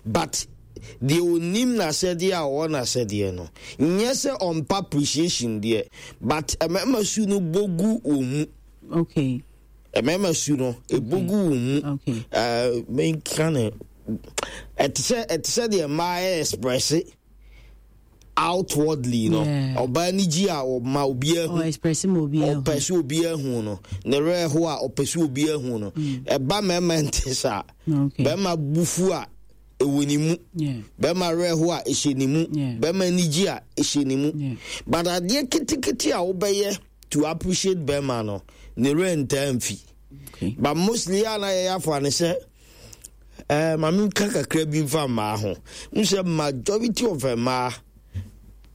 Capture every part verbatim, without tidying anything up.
But deɛ onim n'asɛdeɛ a ɔwɔ n'asɛdeɛ no, nyɛ sɛ ɔmpa appreciation deɛ, but mmarima su no bɔgu wɔn mu. Okay mmarima su no ɛbɔgu wɔn mu. Okay. ɛɛ menka ne ɛte sɛ ɛte sɛ deɛ mmaa yɛ express outwardly no. Yeah. Ɔbaa ni gye a, ɔma obiara hu. Ɔ express ma obiara hu. Ɔpɛ sɛ obiara hu no, ne werɛ ho a, ɔpɛ sɛ obiara hu no. Ɛba mmarima nte saa. Okay bɛrima bufu a, ɛwɔ ne mu. Yeah bɛrima werɛ ho a, ɛhyɛ ne mu. Yeah. Bɛrima ani gye a, ɛhyɛ ne mu. Yeah. But adeɛ ketekete a wobɛyɛ to appreciate bɛrima no, ne werɛ ntaa mfi. Okay but mostly a na yɛyɛ afa ne sɛ ɛɛ maame nka kakra bi nfa mmaa ho n sɛ majority of mmaa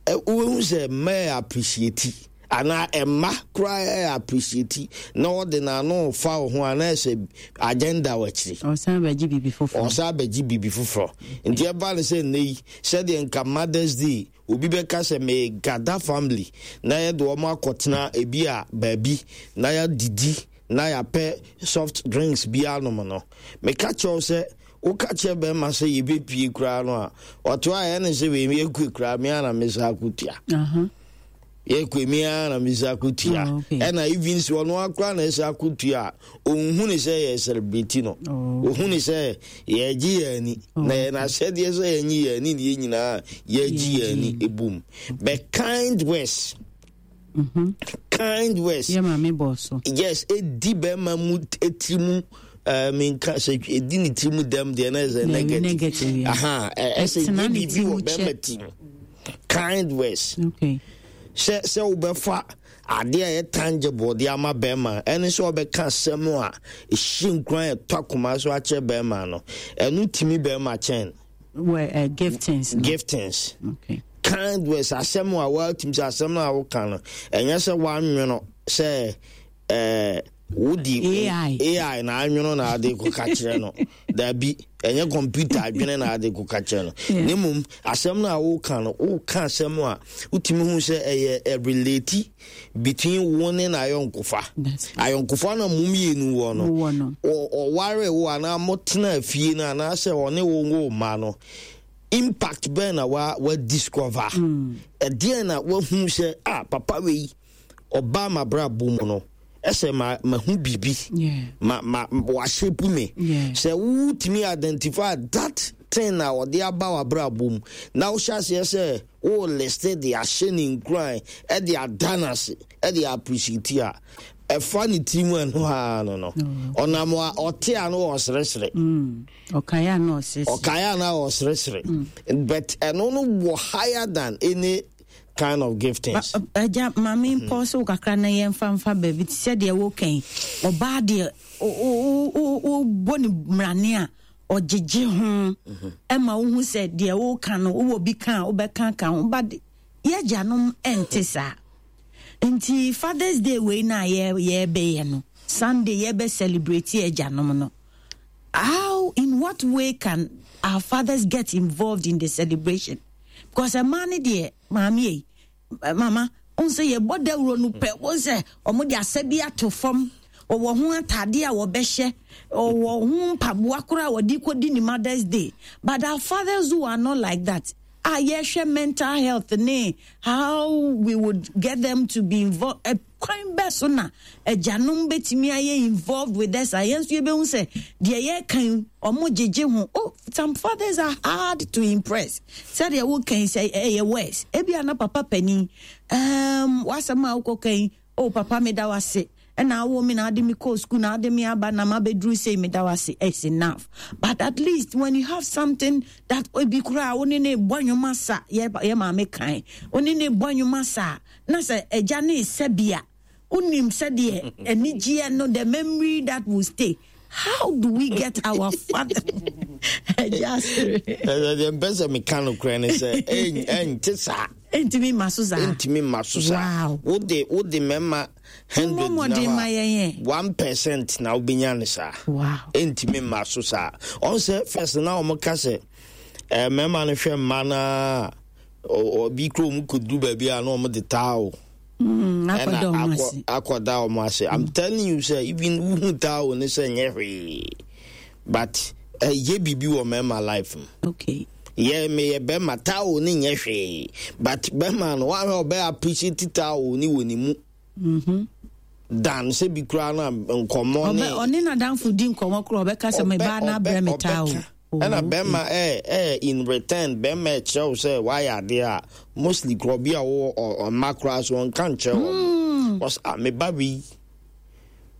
ɛ, wohu sɛ mmaa yɛ appreciate anaa ɛmma koraa yɛ appreciate na ɔde n'ano fa wo ho anaa sɛ agenda wɔ akyire. Ɔsan bɛgye biribi foforɔ. Ɔsan bɛgye biribi foforɔ. Nti ɛba ne sɛ nnɛ yi, sɛdeɛ nka Mother's Day obi bɛka sɛ megada family na yɛde wɔn akɔtena ebi a baabi na yɛadidi na yɛapɛ soft drinks bi anom no, meka kyerɛw sɛ woka kyerɛ bɛrima sɛ yɛbɛpie koraa no a, ɔto a ɛyɛ ne sɛ wei yɛkue koraa me ana mesa akɔtua. Uh-huh. Yɛkue me ara na mesa akɔtua. Oh, okay. Ɛna even sɛ ɔno akora na ɛsɛ akɔtua a, ɔnhu ne sɛ yɛ celebrate no. Oh. Ɔhu ne sɛ yɛgye yɛn ani na yɛn ahyɛdeɛ sɛ yɛnye yɛn ani ne yɛn nyinaa yɛgye yɛn ani ebom. But kind words, Mhm. kind words. Yɛ maame bɔ so. Yes, edi bɛrima mu etiri mu, ɛɛ minka sɛ edi ne tiri mu dɛm deɛ na ɛsɛ Dabi, negative. Negative, yeah. Aha, ɛ- ɛsɛ Ɛtena nye ne biribi tiri wɔ mu bɛrima kyɛ. ti mu, kind words. Okay sɛ sɛ wobɛfa adeɛ a ɛyɛ tangible de ama bɛrima, ɛne sɛ wɔbɛka asɛm a ɛhyɛ nkuran, ɛtɔ akoma so akyerɛ bɛrima no, ɛno tumi bɛrima kyɛn Wɔ uh, giftings no. Giftings. Okay kind words, asɛm a woatumi sɛ asɛm no a woka no, ɛnyɛ sɛ woanwono sɛ ɛɛ wodi A I. A I na anwono na ade kɔka kyerɛ no. Dabi, ɛnyɛ computer adwene na ade kɔka kyerɛ no. Yeah. Ne mmom asɛm no a woka no, woka asɛm a wotumi hu sɛ ɛyɛ ɛrelate between wo ne n'ayɔnkofa. That's Ayɔnkofa no a mo mmienu wɔ no, Wowɔ no. ɔ- ɔware wo anaa motena fie no anaasɛ ɔne wo wo ma no, impact bɛn na wa wa discover? Ɛdeɛn na wahu sɛ ah, papa wei ɔbaa mabrabɔ mu no, ɛsɛ ma mahu biribi? Yeah. ma ma wahyɛ me. Yeah. Sɛ wotumi identify that thing na ɔde aba w'abrabɔ mu na wohyɛ aseɛ sɛ wo list de ahyɛ ne nkuran, ɛde ada no ase, ɛde appreciate a, ɛfa ne tiri mu. Ɛno aa no no ɔnam a ɔte a no ɔseresere. Mm. Ɔkaeɛ a na ɔsese. Ɔkaeɛ a na ɔseresere, but ɛno no wɔ higher than any kind of giftings. Agya, maame mpɔ so kakra na yɛmfa mfa baabi te sɛ deɛ wokan ɔbaa deɛ wobɔ ne mmrane a ɔgyegye ho ɛma wohu sɛ deɛ woka no wowɔ bi ka a wobɛka ka ho, but yɛagyanom ɛnte saa. Nti Fathers Day wei no a yɛbɛyɛ no Sunday, yɛbɛ celebrate agyanom no, how, in what way can our fathers get involved in the celebration? Because ɛmaa no deɛ, maame yi, mama n sɛ yɛbɔ dawuro no pɛ, wɔn sɛ wɔn de asɛ bi ato fam, ɔwɔ ho atadeɛ a wɔbɛhyɛ, ɔwɔ ho mpaboa koraa a wɔde kɔdi ne Mother's Day. But our fathers who are not like that a yɛhwɛ mental health ne how we would get them to be involved, kwan bɛ so na agyanom bɛtumi ayɛ involved with us a yɛn nso yɛbɛhu sɛ deɛ yɛkan ɔmo gyegye ho? Oh, some fathers are hard to impress. Sɛdeɛ wokan sɛ ɛyɛ worse, ebi ana papa panin um, wasɛm a wokɔkan, "Oh papa, meda wase, ɛna awo me na ade me kɔ school na ade me aba na ma bɛduru sei, meda wase," it's enough. But at least when you have something that ebi koraa wo ne ne bɔ nnwom asa, yɛ yɛ maame kan wo ne ne bɔ nnwom asa na sɛ agya ne sɛ bia wonim sɛdeɛ anigyeɛ no, the memory that will stay. How do we get our father, agya asere? Deɛ mpɛ sɛ meka no korɛ ne sɛ ɛnte saa. Ɛntumi ma so saa. Ɛntumi ma so saa. Wow. wode wode mmarima hundred Mmɔmmɔden ma yɛn yɛ. one percent na wobɛnya ne saa. Wow ɛntumi mma so saa. Ɔn sɛ first na ɔmo ka sɛ eh, mmarima no hwɛ mma naa ɔbi kuro mu kɔduru baabi a na ɔmo de towel Mm, ɛna akɔda ɔmo akɔ ase. Akɔda ɔmo ase. I'm telling you sɛ even wohu towel ne sɛ nyɛ hwee, but Ɛyɛ biribi wɔ mmarima life mu. Okay. Yɛ meyɛ bɛrima, towel ne nyɛ hwee, but bɛrima no wahwɛ, ɔbɛ appreciate towel ne wɔ ne mu mm-hmm. dan sɛ bi koraa no a nkɔmmɔ ne ɔne n'adamfo di nkɔmmɔ koraa, ɔbɛka sɛ mebaa no abrɛ me towel. Ɛna bɛrima ɛ ɛ in return, bɛrima ɛkyerɛ wo sɛ wayɛ adeɛ a, mostly korɔ bi a wɔwɔ ɔmma koraa so ɔnka nkyerɛ wɔn. Wɔs a meba wei,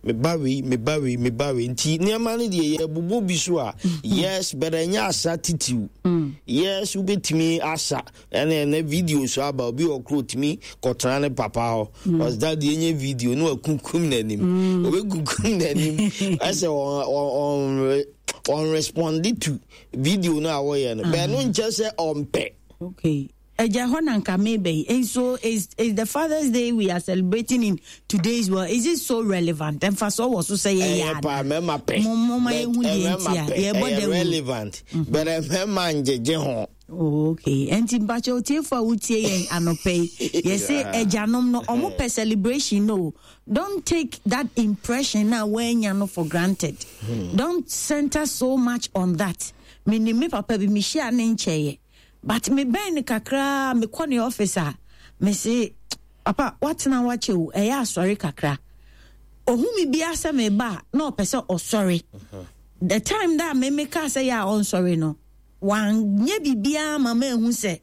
meba wei, meba wei, meba wei. Nti nneɛma no deɛ, yɛbobɔ bi so a, yes, but ɛnyɛ asa titiw. Yes, wobɛtumi asa. ɛne ɛnɛ video so aba, obi wɔ koro tumi kɔtena ne papa hɔ, ɔsɛ deɛ ɛnyɛ video ne wakunkum n'anim, obɛkunkum n'anim, ɛsɛ ɔn ɔn respond to video no a wɔyɛ no bɛɛ no nkyɛ sɛ ɔmpɛ. Okay. Ɛgya hɔ na nka meba yi. And so is is the Father's Day we are celebrating in today's world, is it so relevant? Ɛmfa so wɔ so sɛ yɛyɛ ɛyɛ paa, mɛma pɛ. Mo mo ma yɛhu deɛ nti a yɛbɔ ɛyɛ dawuro. Relevant, but mɛma ngyegye ho. Oh, okay. Enti mpakyɛ otiefo a wotie yɛn anɔpɛ yi, yɛse agyanom no, ɔmo pɛ celebration no. Don't take that impression na woanya no for granted. Don't center so much on that. Menim me papa bi, mehyia ne nkyɛeɛ. But mebɛn no kakraa, mekɔ ne office a, mese, "Papa, woatena wakyɛ o, ɛyɛ asɔre kakra." Ohu me bia sɛ meba a, na ɔpɛ sɛ ɔsɔre. The time that me meka sɛ yɛ a ɔnsɔre no, wanyɛ biribiara ma ma ehu sɛ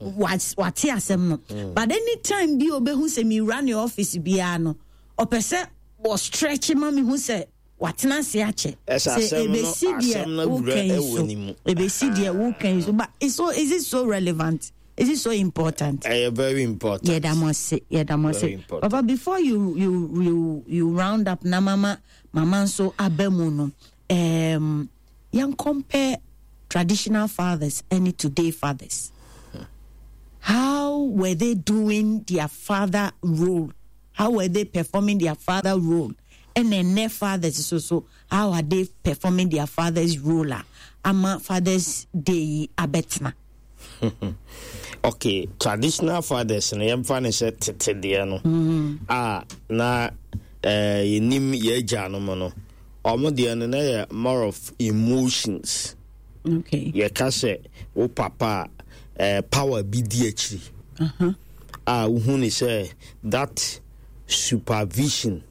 wate asɛm no. But anytime bi obehu sɛ mewura ne office biara no, ɔpɛ sɛ wɔ stretch ma me hu sɛ watena ase akyɛ. Ɛsɛ sɛ asɛm no- ebesi deɛ asɛm no awura woka yi ɛwɔ so ne mu. Ebesi deɛ woka yi so, but it's so is it so relevant? Is it so important? Ɛyɛ very important. Yɛda mo ase, yɛda mo Very ase. important. Papa, before you you you you round up na mama mama nso aba mu no, um, yɛn compare traditional fathers and today fathers. How were they doing their father role? How were they performing their father role? And then their fathers so so how are they performing their father's role a ama Father's Day yi abɛtena? Okay, traditional fathers no, yɛmfa ne sɛ tete deɛ no a na eh, yɛnim yɛ agyanom no, ɔmo deɛ no na yɛ more of emotions. Okay yɛka sɛ wo papa a eh, power bi di akyiri uh-huh. a wohu ne sɛ that supervision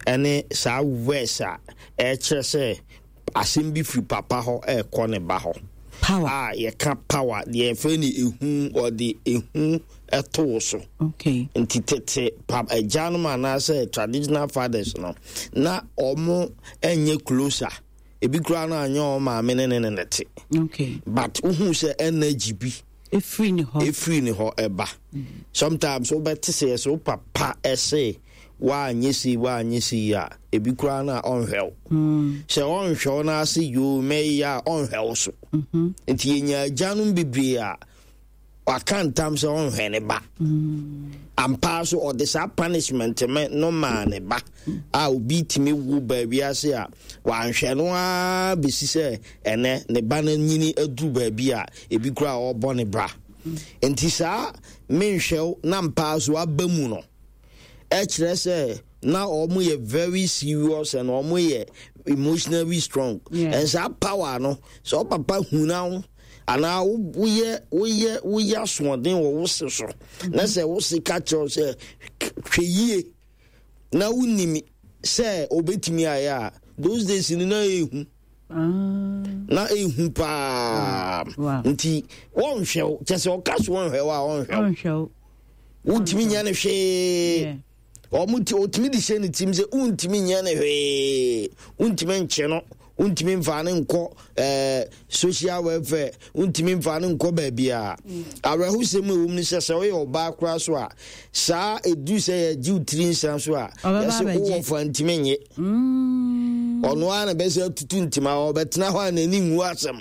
ɛne saa words a ɛkyerɛ sɛ asɛm bi firi papa hɔ ɛrekɔ ne ba hɔ. Power. A yɛka power deɛ, yɛfrɛ no ehu, ɔde ehu ɛto wo so. Okay nti tete pa agyanom anaasɛ traditional fathers no, na ɔmo ɛnyɛ closer, ebi koraa no anyɛ ɔmo maame ne ne ne ne te. Okay but wohu sɛ energy bi efiri ne hɔ. Ɛfiri ne hɔ ɛba. Sometimes wobɛte sɛ yɛ sɛ wo papa ɛse woanyɛ sei, woanyɛ sei a, ebi koraa no a ɔnhwɛ wo sɛ ɔnhwɛ wo no ase yoo mɛyɛ a ɔnhwɛ wo so. Nti yɛnya agyanom bebree a waka ntam sɛ ɔnhwɛ ne ba ampaa so, ɔde saa punishment me no maa ne ba a obi tumi wo baabi ase a wanhwɛ no ara bɛsi sɛ ɛnɛ ne ba no nyini aduru baabi a ebi koraa a ɔrebɔ ne bra. Nti saa menhwɛ wo na mpaa so aba mu no, ɛkyerɛ sɛ na ɔmo yɛ very serious and ɔmo yɛ emotionally strong. Yeah. And saa power no, sɛ ɔpapa huna wo anaa wo- woyɛ woyɛ woyɛ asoɔden wɔ wo se so na sɛ wo se ka kyerɛ wo sɛ hwɛ yie na wonim sɛ obɛtumi ayɛ a, those days no na ɛhu. Ah. Na ɛhu paa. Wow. Nti wɔnhwɛ wo, kyɛ sɛ ɔka so wɔnhwɛ wo a, ɔnhwɛ wo. Ɔnhwɛ wo. Wontumi nyɛ no hwee. Yeah. Ɔmo ti otumi de hyɛ ne tirim sɛ wontumi nyɛ no hwee, wontumi nkye no, wontumi mfa ne nkɔ ɛɛ social welfare, wontumi mfa ne nkɔ baabi a awerɛhosɛm a ɛwɔ mu no sɛ sɛ woyɛ ɔbaa koraa so a, saa ɛduru sɛ yɛgye wo tiri nsa so a, Ɔbɛba yɛsɛ abɛgye. wowɔ fa ntumi nye. Ɔno ara na bɛsɛ atutu ntoma, ɔbɛtena hɔ a n'ani nwu asɛm,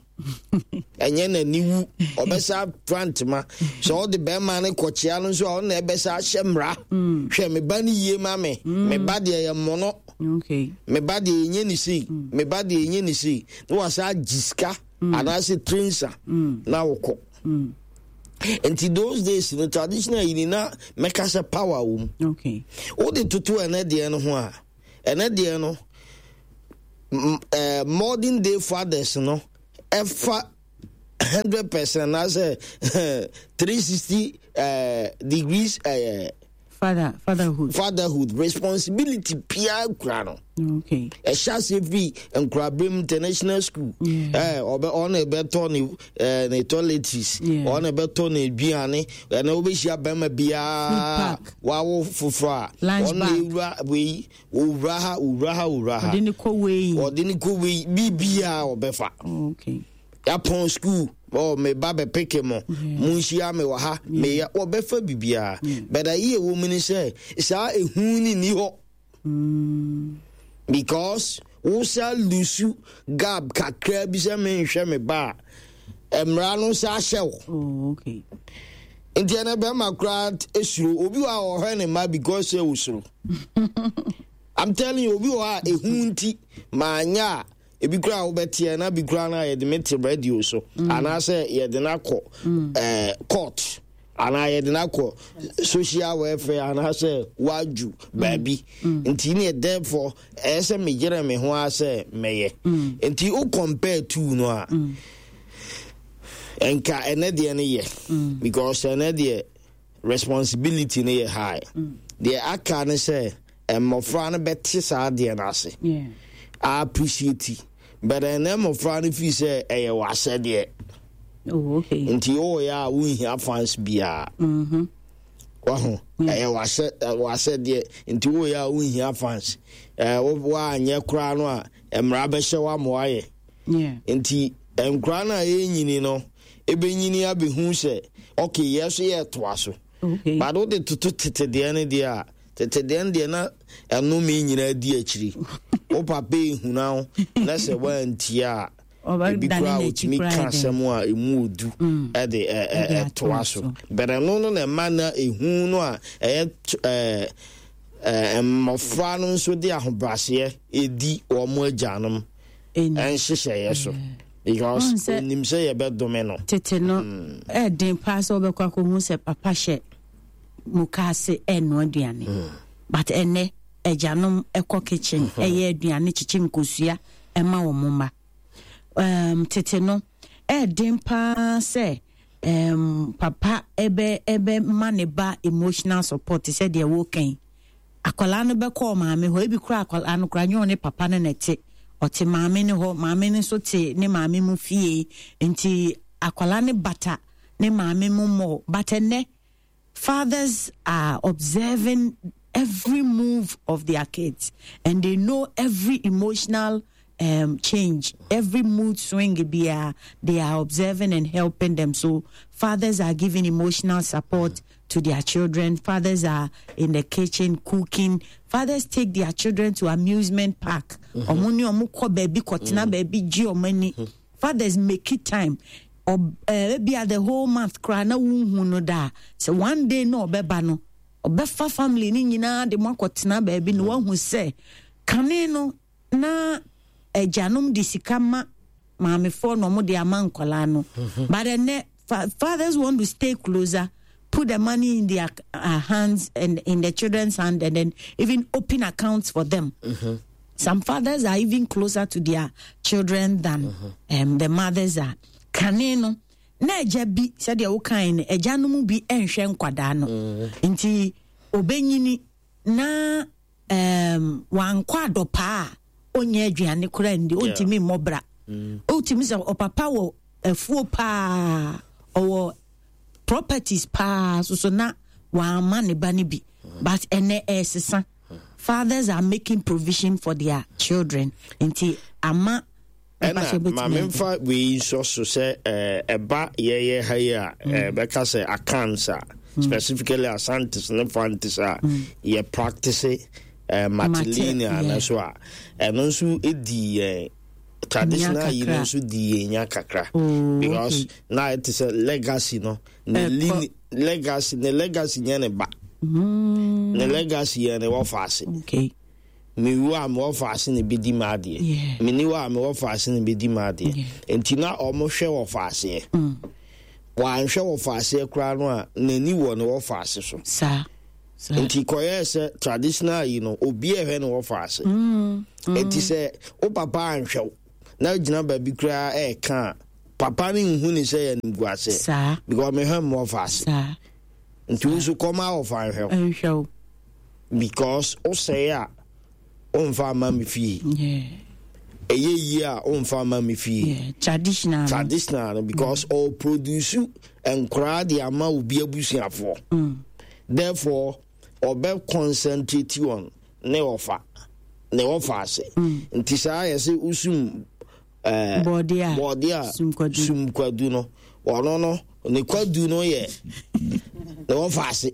ɛnyɛ n'ani wu, ɔbɛsa pra ntoma sɛ ɔde bɛrima no kɔkyea no nso a, ɔno na ɛbɛsa ahyɛ mmara, hwɛ me ba no yie ma me, me ba deɛ yɛ mmɔnɔ. Okay me ba deɛ ɛnyɛ ne sei, me ba deɛ ɛnyɛ ne sei, na wasa agye sika anaasɛ tiri nsa na wokɔ. Nti those days no, traditional yi ni na mɛka sɛ power wɔ mu. Okay wode toto ɛnɛ deɛ no ho a, ɛnɛ deɛ no m- eh, modern day fathers no ɛfa hundred percent anaasɛ three sixty uh, degrees uh, Father, fatherhood. fatherhood responsibility pia kura no. Okay. Ɛhyɛ ase firi nkurabere international school. Yeah. Ɛɛ ɔbɛ ɔna ɛbɛtɔ ne ɛɛ ne toiletries. Yeah. Ɔna ɛbɛtɔ ne aduane. Ɛna wobɛhyia bɛrima biara Food pack. wawo foforɔ a Lunch ɔna bag. ewura wei, owura ha, owura ha, owura ha. Ɔde ne kɔ wei. Ɔde ne kɔ wei, biribiara ɔbɛfa. Okay. Yapɔn school, ɔ me ba bɛ pick mo, mo nhyia me wɔ ha, meyɛ ɔbɛfa biribiara. Bɛda yie wɔ mu ni sɛ saa ehu ni ni hɔ Mm. because wosa lose gap kakra bi sɛ menhwɛ me ba a, mmara no nsa ahyɛ wo. Oh, okay. Nti ɛnɛ bɛrima koraa esuro obi wɔ a ɔhwɛ ne ma because sɛ osuro. I'm telling you, obi wɔ hɔ a ehu nti maanya a ebi koraa a wobɛteɛ na bi koraa no a yɛde me te radio so anaasɛ yɛde no akɔ ɛɛ court anaa yɛde no akɔ social welfare anaasɛ wadwu baabi. Nti ne therefore ɛyɛ sɛ megyere me ho a sɛ mɛyɛ. Nti wo compare two no a, nka ɛnɛ deɛ no yɛ because ɛnɛ deɛ responsibility no yɛ high. Deɛ aka ne sɛ mmɔfra no bɛte saa deɛ no ase, Yeah. appreciate, but ɛnɛ mmɔfra no fii sɛ ɛyɛ w'asɛdeɛ. Oh, okay. Nti woyɛ a wonhia fans biara. Mm-hmm. Waho ɛyɛ w'asɛ ɛ, w'asɛdeɛ nti woyɛ a wonhia fans. ɛɛ wo woanyɛ koraa no a, mmara bɛhyɛ wo ama woayɛ. Yeah. Nti nkora no a ɛnyini no ɛbɛnyini abɛhu sɛ okay, yɛ so yɛtoa so. Okay. But wode toto tete deɛ no deɛ a, tete deɛ no deɛ na ɛnome nyinaa di akyiri. Wo papa ehuna wo na sɛ woantie a, ebi Ɔbɛdane koraa n'akyi otumi koraa ka yɛ dɛn? asɛm a emu odu ɛde ɛ- ɛ- Ɛde ɛtoa atoa so. so. But ɛno no na ɛma na ehu no a ɛyɛ t- ɛɛ ɛɛ mmɔfra no nso de ahobrɛaseɛ edi wɔn agyanom Ɛni. ɛnhyehyɛeɛ so because Ɔn sɛ- onim sɛ yɛbɛdome no. Tete no ɛɛden paa sɛ wobɛkɔ akɔhu sɛ papa hyɛ mukaase ɛnoa aduane, but ɛnɛ agyanom ɛkɔ kitchen ɛyɛ aduane, kyekye nkosua ɛma wɔn mma. um, tete no ɛɛden paa sɛ um, papa ɛbɛ ɛbɛ ma ne ba emotional support te sɛ deɛ wɔkɛn akwadaa no bɛkɔ maame hɔ. Ebi kora akwadaa no kora nyɛ ɔne papa no na ɛte, ɔte maame no hɔ, maame no nso te ne maame mu fie, nti akwadaa no bata ne maame mu mmɔ. But ɛnɛ fathers are observing every move of their kids and they know every emotional um, change, every mood swing biara, they are observing and helping them. So fathers are giving emotional support to their children. Fathers are in the kitchen cooking. Fathers take their children to amusement park. Ɔmo ne ɔmo kɔ baabi kɔtena baabi gye ɔmo ani. Fathers make it time. Ɔb- eh, ebia the whole month koraa na wonhu no da a, sɛ one day na ɔbɛba no, ɔbɛfa family ne nyinaa de mo akɔtena baabi na wahu sɛ kane no na agyanom de sika ma maamefoɔ na ɔmo de ama nkɔlaa no. But ɛnɛ fa fathers want to stay closer, put the money in their uh, hands and in the children's hand and then even open accounts for them. Some fathers are even closer to their children than um, the mothers are. Kane no na agya bi, sɛdeɛ wokae no, agya no mu bi nhwɛ nkwadaa no, nti obɛnyini na um, wankɔ adɔpaa a ɔnyɛ aduane koraa ndi, ɔntumi mmɔ bra. Ɔtumi sɛ ɔpapa wɔ afuo paa, ɔwɔ properties paa soso na wamma ne ba no bi. But ɛnɛ ɛsesa, fathers are making provision for their children, nti ama Ɛna mpakyɛ bɛtumi maame ayɛ. mfa wei nsɔ so sɛ ɛɛ, ɛba yɛyɛ ha yi a ɛɛ, bɛka sɛ Akans a, specifically Asantes ne Fantes a yɛ practice ɛɛ, matrilineal yeah. no so a, ɛno nso di yɛn traditional Nya yi no kakra. nso di yɛn nya kakra Oh, because okay. na ɛte sɛ legacy no ne Ɛkɔ. line legacy, ne legacy nyɛ ne ba, ne legacy yɛ ne wɔfa ase. Okay Mewu a, mewɔ faase na bɛdi ma adeɛ. Yeah. Meni hɔ a, mewɔ faase na bɛdi ma adeɛ. Nti na ɔmo hwɛ wɔ faaseɛ. Wanhwɛ wɔ faaseɛ koraa no a, n'ani wɔ ne wɔ faase so. Saa. Nti kɔyɛɛ sɛ traditional yi no, obi a ɛhwɛ no wɔfa ase. Enti sɛ wo papa anhwɛ wo na gyina baabi koraa ɛɛka a, papa no nhu ne sɛ yɛ nimguase Saa. because mehwɛ me wɔfa ase. Saa. Nti wo nso kɔma wɔfa nhwɛ wo Nhwɛ wo. because wosɛe a, womfa ama me fie. Yeah. Ɛyɛ yie a, womfa ama me fie. Yeah. Traditional no. Traditional no, because mm. ɔproduce nkoraa de ama obi abusuafoɔ. Mm. Therefore ɔbɛ concentrate on ne ɔfa ne ɔfa ase. Nti saa yɛ sɛ wosum ɛɛ Bɔɔde a, bɔɔde a sum kwadu. Sum kwadu no, ɔno no ne kwadu no yɛ ne ɔfa ase,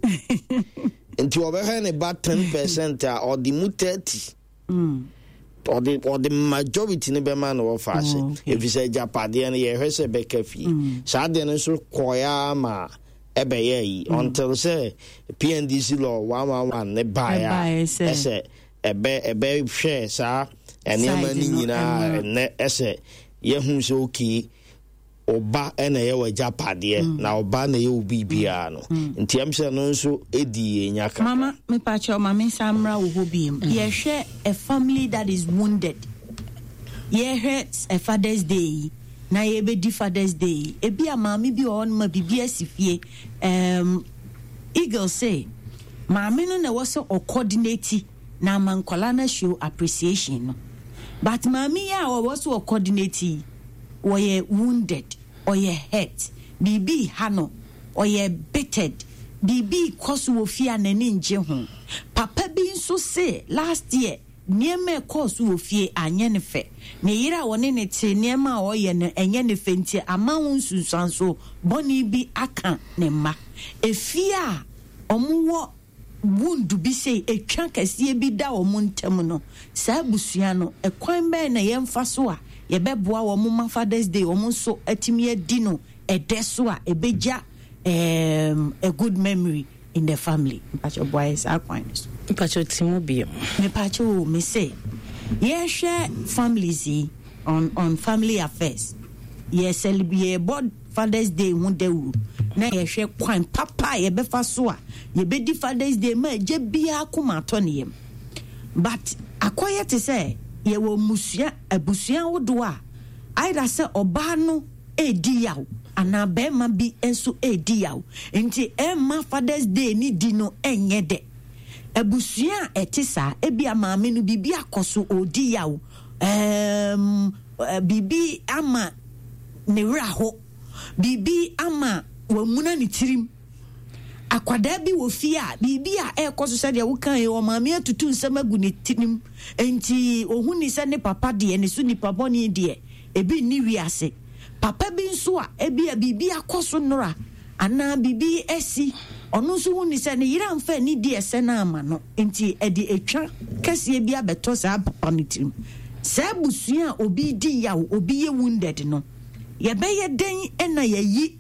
nti ɔbɛhwɛ ne ba ten percent a, ɔde mu thirty, Mm. ɔde ɔde majority no bɛma no wɔfa ase. Oh, okay. Ɛfiri sɛ agyapadeɛ no, yɛhwɛ sɛ bɛka fie. Saa deɛ no nso kɔeɛ ma ɛbɛyɛ yi until sɛ P N D C law one one one ne baeɛ Ɛbaeɛ a sɛ- ɛsɛ ɛbɛ ɛbɛhwɛ saa nneɛma Side no no, nyinaa. ɛma- Ɛnɛ ɛsɛ yɛhu sɛ okay, ɔba ɛna ɛyɛ wɔ agyapadeɛ na ɔba na ɛyɛ wo biribiara no, nti ɛm sɛ no nso ɛdi yɛnya kakra. Mama, mepakyɛw, ma me nsa mmra wo hɔ biem. Yɛhwɛ a family that is wounded, yɛhwɛ a Father's Day yi na yɛbɛdi Father's Day yi, ebi a maame bi wɔ hɔ no ma biribi asi fie. um, eagle say maame no na ɛwɔ sɛ ɔcoordinate na ama nkɔla no show appreciation no, but maame yi a ɔwɔ sɛ ɔcoordinate yi, wɔyɛ wounded, ɔyɛ hurt, biribi ha no, ɔyɛ bittered, biribi kɔ so wɔ fie a n'ani ngye ho. Papa bi nso se last year nneɛma ɛkɔɔ so wɔ fie anyɛ ne fɛ, ne yere a wɔne ne te, nneɛma a ɔyɛ no ɛnyɛ ne fɛ, nti ama ho nsunsuanso bɔne bi aka ne mma. Efie a ɔmowɔ wound bi sɛ etwa kɛseɛ bi da wɔn ntam no, saa abusua no, ɛkwan bɛn na yɛmfa so a yɛbɛboa wɔn ma Father's Day wɔn nso atumi adi no ɛdɛ so a ɛbɛgya um, a good memory in the family? Mpakyɛ, boa yɛ saa kwan no so. Mpakyɛ, ti mu bio. Mepakyɛ o, me se yɛhwɛ families yi on on family affairs, yɛ celebrate, yɛbɔ Father's Day ho dawuro na yɛhwɛ kwan papa a yɛbɛfa so a yɛbɛdi Father's Day ma agya biara koma atɔ ne yam, but akɔyɛ te sɛ yɛwɔ mmusua, abusua ahodoɔ a either sɛ ɔbaa no edi yaw anaa bɛrima bi nso edi yaw, nti ɛmma Father's Day ni di no ɛnyɛ dɛ. Abusua a ɛte saa, ebi a maame no biribi akɔ so, ɔdi yaw, ɛɛm biribi ama ne werɛ aho, biribi ama wamuna ne tirim, akwadaa bi wɔ fie a biribi a ɛrekɔ so, sɛdeɛ woka yi, ɔmaame atutu nsɛm agu ne tirim, nti ohun ni sɛ ne papa deɛ ne so nipa bɔne deɛ ebi nni wiase. Papa bi nso a ebi a biribi akɔ so nnora anaa biribi asi, ɔno nso hu ni sɛ ne yere amfa ani di ɛsɛ no ama no, nti ɛde etwa kɛseɛ bi abɛtɔ saa papa no tirim. Saa abusua a obi di yaw, obi yɛ wounded no, yɛbɛyɛ dɛn ɛna yɛyi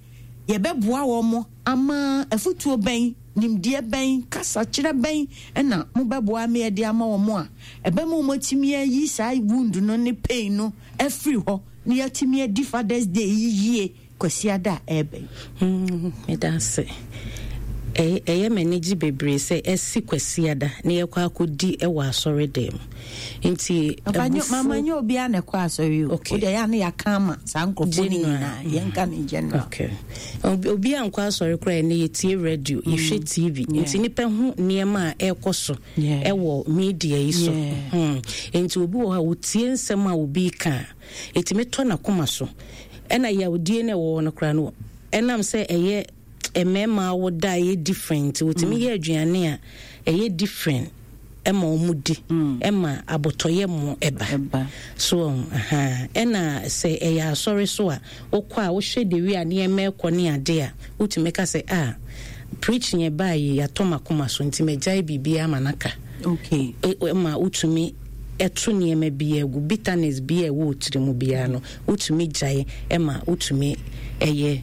yɛbɛboa wɔn mo ama afutuo bɛn, nimdeɛ bɛn, kasakyerɛ bɛn ɛna mobɛboa me yɛde ama wɔn a ɛbɛma wɔn atumi ayi saa wound no ne pain no afiri hɔ na yɛatumi adi Father's Day yi yie Kwasiada a ɛbɛn? Mm, meda ase. ɛyɛ ɛyɛ m'ani gye bebree sɛ ɛsi Kwasiada na yɛkɔ akɔdi ɛwɔ asɔre dɛm, nti Mama, nyɛ obiara na ɛkɔ asɔre o. Okay. Wode ɛyɛ a ne yɛaka ama saa nkurɔfoɔ no General. nyinaa, yɛnka ne general. Okay. Obi obi a nkɔ asɔre koraa, ɛnɛ yɛtie radio, yɛhwɛ T V, Yeah. nti nipa hu nneɛma a ɛrekɔ so Yeah. ɛwɔ media yi so. Yeah. Hmm. Nti obi wɔ hɔ a wotie nsɛm a obi ka a, ɛtumi tɔ n'akoma so, ɛna yawdie no ɛwɔ hɔ no koraa no, ɛnam sɛ ɛyɛ mmarima a woda a ɛyɛ different, wotumi yɛ aduane a ɛyɛ different ɛma wɔn di, ɛma abotɔyɛ mu ɛba. Ɛba. So aha, ɛna sɛ ɛyɛ asɔre so a, wokɔ a wohwɛ de wi a nneɛma ɛkɔ ne ade a, wotumi ka sɛ a preaching yɛ baa yi yɛatɔ makoma so, nti magyae biribiara ama naka. Okay ɛ- ɛ- ma wotumi ɛto nneɛma bi agu, bitterness bi a ɛwɔ wo tiri mu biara no, wotumi gyae, ɛma wotumi ɛyɛ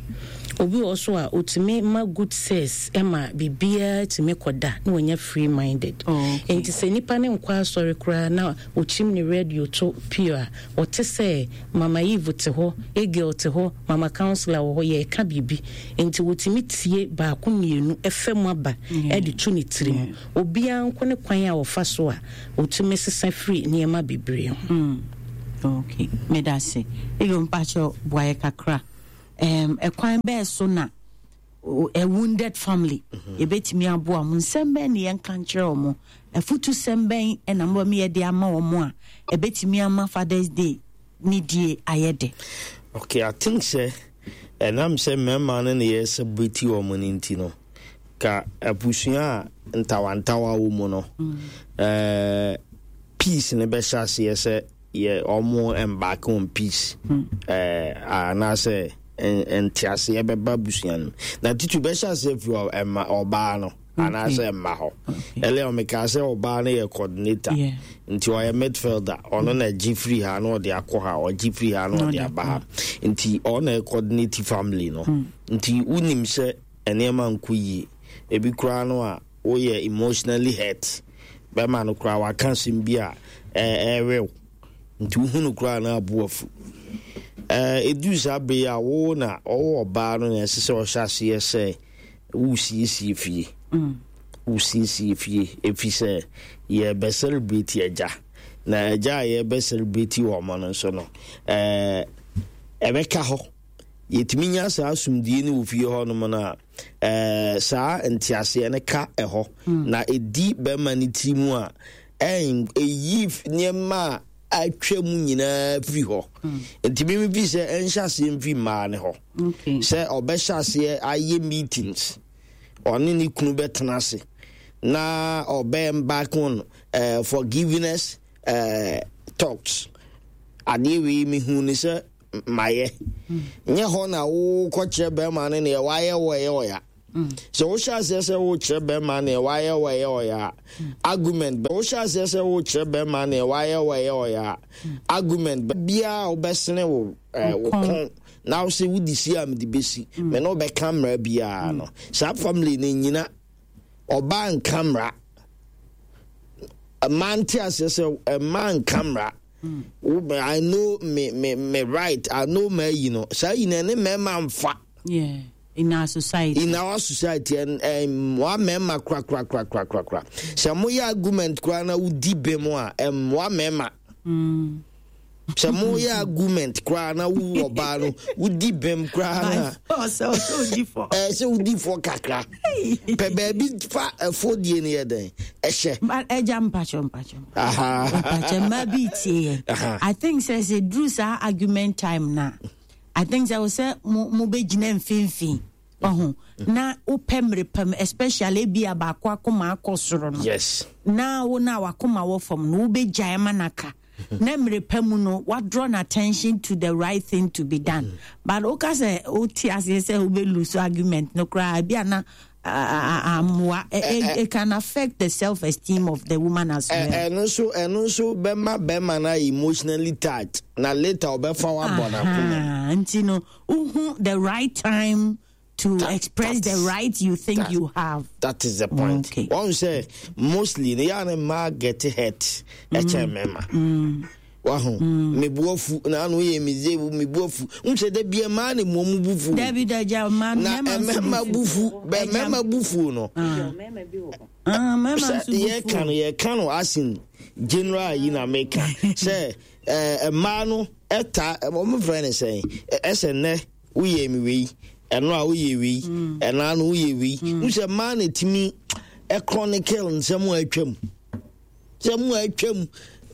Obi wɔ so a ɔtumi ma good sex, ɛma biribiara tumi kɔda na wɔnyɛ free minded. Oh, okay. Nti sɛ nipa ne nkɔ asɔre koraa na ɔkyim ne radio to pure a, ɔte sɛ Mama Eve te hɔ, Egil te hɔ, Mama Counselor wɔ hɔ, yɛreka biribi, nti wɔtumi tie baako mmienu ɛfɛ mu aba ɛde to ne tirim. Obiara nko ne kwan a wɔfa so a ɔtumi sesa firi nneɛma bebree ho. Mm. Okay, meda se Egil, mpakyɛ boayɛ kakra. um, ɛkwan bɛɛ so na a wounded family yɛbɛtumi aboa mo? Nsɛm bɛn ne yɛnka nkyerɛ wɔ mo? Afutu sɛm bɛn ɛna mobɛma yɛde ama wɔ mo a ɛbɛtumi ama Fathers Day ne die ayɛ de? Okay, I think sɛ ɛnam sɛ mmarima no ne yɛ celebrate wɔ mo no nti no, ka abusua a ntawantawa wɔ mu no, mm. peace ne bɛhyɛ aseɛ sɛ yɛ ɔmo embark on peace, mm. anaasɛ nteaseɛ bɛba abusua no, na titu bɛhyɛ aseɛ firi ɛma ɔbaa no anaasɛ mma hɔ. Ɛlɛ ɔmeka sɛ ɔbaa no yɛ coordinator, nti ɔyɛ midfielder. Ɔno na gye firi ha na ɔde akɔ ha, ɔgye firi ha na ɔde aba ha, nti ɔno na coordinate family no. Nti wonim sɛ nneɛma nkɔ yie, ebi koraa no a woyɛ emotionally hurt, bɛrima no koraa waka asɛm bi a ɛɛrew, nti wohu no koraa na abo afu. Ɛduru saa bere a wo na ɔwɔ ɔbaa no na ɛsɛ sɛ ɔhyɛ aseɛ sɛ wosiesie fie, wosiesie fie, ɛfiri sɛ yɛbɛ celebrate agya, na agya a yɛbɛ celebrate wɔ ɔmo no nso no, ɛɛ ɛbɛka hɔ. Yɛtumi nya saa asomdue no wɔ fie hɔ nom no a, ɛɛ saa nteaseɛ no ka ɛhɔ na ɛdi bɛrima no tiri mu a, ɛyi nneɛma a atwa mu nyinaa firi hɔ. Nti mímí fi sɛ ɛnhyɛ aseɛ mfiri mmaa ne hɔ sɛ ɔbɛhyɛ aseɛ ayɛ meetings, ɔne ne kunu bɛtena ase na ɔbɛ embark on uh, forgiveness uh, talks. Adeɛ wei mehu ne sɛ mayɛ nyɛ hɔ na wokɔkyerɛ bɛrima no neɛ wayɛ wɔ ɛyɛ ɔya. Sɛ wohyɛ aseɛ sɛ wokyerɛ bɛrima neɛ wayɛ wɔ ɛyɛ ɔya a, argument bɛ. Wohyɛ aseɛ sɛ wokyerɛ bɛrima neɛ wayɛ wɔ ɛyɛ ɔya a, argument bɛ biara wobɛsene wo wo kɔn na wo sɛ wodi si a mede bɛsi me ne wobɛka mmara biara no, saa family no nyina. Ɔbaa nka mmara, mmaa nte aseɛ sɛ mmaa nka mmara. I know me me me right, I know ma yi no saa yi na ɛne mmarima nfa. Yeah. In our society. In our society, and mmoa mmarima kora kora kora kora kora kora. Sɛ moyɛ argument koraa na wodi bɛ mu a, mmoa mmarima. Sɛ moyɛ argument koraa na wo ɔbaa no wodi bɛm koraa na ɛɛ sɛ wodi fɔ kakra pɛ baabi fa ɛfɔ die no yɛ dɛn ɛhyɛ. Ɛgya, mpakyɛ, mpakyɛ, mpakyɛ, mmaa bi tie yɛn. I think sɛ sɛ duru saa argument time na I think sɛ sɛ mo mo bɛgyina mfimfini ɔho na wopɛ mmere pam, especially ebi a baako akoma akɔ soro no yes na wo na wakoma wɔ fam no, wobɛgyae ma naka na mmerɛ pa mu no wadraw no attention to the right thing to be done mm. But woka sɛ wote aseɛ sɛ wobɛlose argument no koraa, bi ana ammoa, it can affect the self-esteem of the woman as well. Ɛno nso ɛno nso bɛma bɛrima no emotionally touched na later ɔbɛfa wabɔ n'akoma. Nti no wohu the right time to that, express the right you think that, you have. That is the point. Okay. Wɔn sɛ mostly ne yà ni mmaa get hurt ɛkyɛn mmarima. Wahu, mebu afu na ano yɛ mi ze mebu afu n sɛ dɛ bia mmaa ne mu ɔmo bu fu. Dabi daja, mmaa na mmarima bu fu bɛ mmarima bu fu no. Sɛ yɛka no yɛka no asin general yi na meka sɛ ɛɛ mmaa no ɛta ɔmo fɛ ne sɛn ɛsɛ nnɛ woyɛ mi wei, ɛno a woyɛ wei, ɛna no woyɛ wei n sɛ mmaa na etimi ɛchronicle nsɛm a atwam sɛ mu a atwam,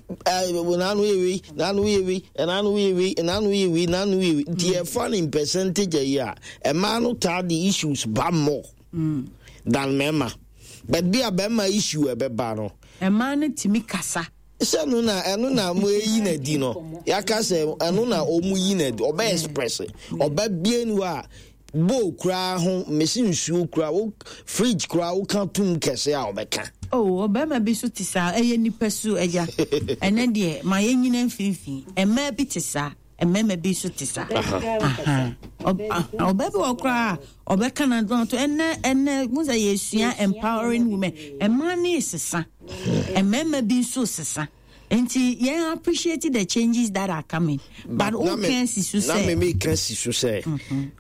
naano yɛ wei, naano yɛ wei, ɛnaano yɛ wei, ɛnaano yɛ wei, naano yɛ wei. Nti yɛfa no in percentage ayi a, mmaa no taa de issues ba more than mmarima, but bi a bɛrima issue ɛbɛba no. Mmaa no tumi kasa. Sɛ no na ɛno na mo eyi na di no, yaka sɛ ɛno na ɔmo yi na di, ɔbɛ express ɔbɛ bie ni hɔ a bowl koraa ho mesi nsuo koraa wo fridge koraa woka tum kɛse a ɔbɛka. Oh, ɔbɛrima bi so te saa, ɛyɛ nipa su, agya. Ɛnɛ deɛ ma yɛnyina mfimfini, mmaa bi te saa. Mmarima bi nso te saa. Aha. Ɔb- ah, ɔbaa bi wɔ koraa a ɔbɛka na to ɛnɛ ɛnɛ mo sɛ yɛsua empowering women. Mmaa ne sesa, mmarima bi nso sesa, nti yɛn appreciate the changes that are coming, but na me- woka si so na me sɛ meka si so sɛ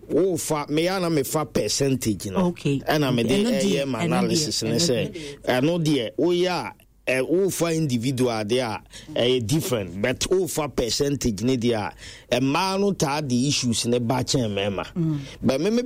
wofa meyɛ na mefa percentage no, Okay. ɛna mede Ɛno deɛ, ɛyɛ ma ɛno deɛ, analysis ne ɛno sɛ ɛno deɛ woyɛ a ɛ, wofa individual deɛ a, ɛyɛ different, but wofa percentage ne deɛ a, mmaa no taa de issues ne ba kyɛn mmarima, but me me